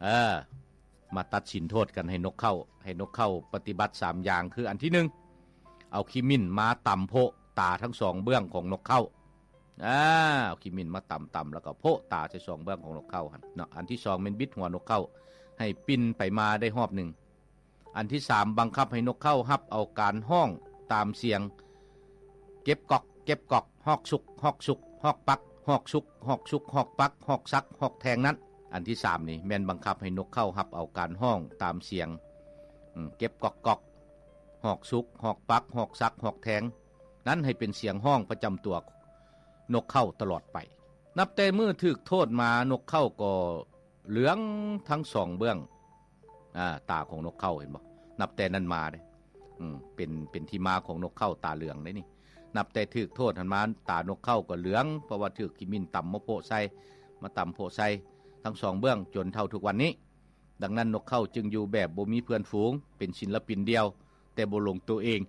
ເອີ ມາຕັດສິນໂທດກັນໃຫ້ນົກເຄົ້າ ໃຫ້ນົກເຄົ້າປະຕິບັດສາມຢ່າງ ຄືອັນທີໜຶ່ງ ເອົາຂີ້ໝິ່ນມາຕຳໂພະຕາທັງສອງເບື້ອງຂອງນົກເຄົ້າ. ອາ ເອົາຂີ້ໝິ່ນມາຕຳໆ ແລ້ວກໍໂພະຕາໃສ່ສອງເບື້ອງຂອງນົກເຄົ້າຫັ້ນເນາະ. ອັນທີສອງແມ່ນບິດຫົວນົກເຄົ້າໃຫ້ປິ່ນໄປມາໄດ້ຮອບໜຶ່ງ. ອັນທີສາມ ບັງຄັບໃຫ້ນົກເຄົ້າຮັບເອົາການຮ້ອງຕາມສຽງ ເກັບກອກ ເກັບກອກ ຮອກສຸກ ຮອກສຸກ ຮອກປັກ ຮອກສຸກ ຮອກສຸກ ຮອກປັກ ຮອກສັກ ຮອກແທງນັ້ນ. ອັນທີສາມນີ້ແມ່ນບັງຄັບໃຫ້ນົກເຄົ້າຮັບເອົາການຮ້ອງຕາມສຽງ ເກັບກອກກອກ ຮອກສຸກ ຮອກປັກ ຮອກສັກ ຮອກແທງນັ້ນ ໃຫ້ເປັນສຽງຮ້ອງປະຈຳຕົວນົກເຄົ້າຕະຫຼອດໄປ. ນັບແຕ່ມື້ຖືກໂທດມາ ນົກເຄົ້າກໍເຫຼືອງທັງສອງເບື້ອງ ອາ ຕາຂອງນົກເຄົ້າ ເຫັນບໍ່? ນັບແຕ່ນັ້ນມາເດ້ ອືມ ເປັນ ເປັນທີ່ມາຂອງນົກເຄົ້າຕາເຫຼືອງເດ້ນີ້. ນັບແຕ່ຖືກໂທດຫັ້ນມາ ຕານົກເຄົ້າກໍເຫຼືອງ ເພາະວ່າຖືກຂີ້ໝິ່ນຕຳມາໂພະໃສ່ ມາຕຳໂພະໃສ່ທັງສອງເບື້ອງ ຈົນເທົ່າທຸກວັນນີ້. ດັ່ງນັ້ນ ນົກເຄົ້າຈຶ່ງຢູ່ແບບບໍ່ມີເພື່ອນຝູງ ເປັນສິນລະປິນດຽວ ແຕ່ບໍ່ຫຼົງໂຕເອງ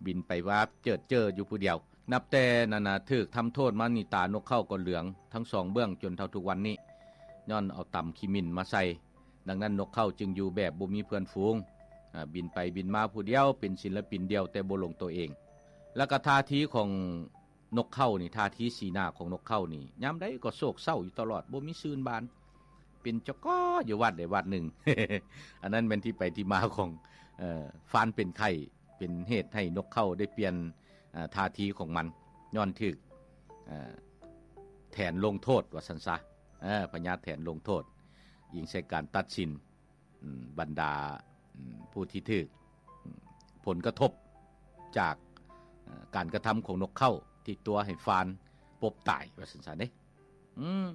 ບິນໄປວາບເຈີດເຈີຢູ່ຜູ້ດຽວ. ນັບແຕ່ນັ້ນນະ ຖືກທຳໂທດມານີ້ ຕານົກເຄົ້າກໍເຫຼືອງທັງສອງເບື້ອງຈົນເທົ່າທຸກວັນນີ້ ຍ້ອນເອົາຕຳຂີ້ໝິ່ນມາໃສ່. ດັ່ງນັ້ນ ນົກເຄົ້າຈຶ່ງຢູ່ແບບບໍ່ມີເພື່ອນຝູງ ອາ ບິນໄປບິນມາຜູ້ດຽວ ເປັນສິນລະປິນດຽວ ແຕ່ບໍ່ຫຼົງໂຕເອງ. ແລ້ວກໍທ່າທີຂອງນົກເຄົ້ານີ້ ທ່າທີສີໜ້າຂອງນົກເຄົ້ານີ້ ຍາມໃດກໍໂສກເສົ້າຢູ່ຕະຫຼອດ ບໍ່ມີຊື່ນບານ ເປັນຈະກໍຢູ່ວັດໃດວັດໜຶ່ງ. ອັນນັ້ນແມ່ນທີ່ໄປທີ່ມາຂອງ ເອີ ຟານເປັນໄຂ້ ເປັນເຫດໃຫ້ນົກເຄົ້າໄດ້ປ່ຽນ ອາ ທ່າທີຂອງມັນ ຍ້ອນຖືກ ເອີ ແຖນລົງໂທດວ່າຊັ້ນຊະ ເອີ ພະຍາດແຖນລົງໂທດ ອີງໃສ່ການຕັດສິນ ອາ ບັນດາ ອາ ຜູ້ທີ່ຖືກ ອາ ຜົນກະທົບຈາກ ອາ ການກະທຳຂອງນົກເຄົ້າ ທີ່ຕົວະໃຫ້ຟານປົບຕາຍວ່າຊັ້ນຊະເດ້. ອືມ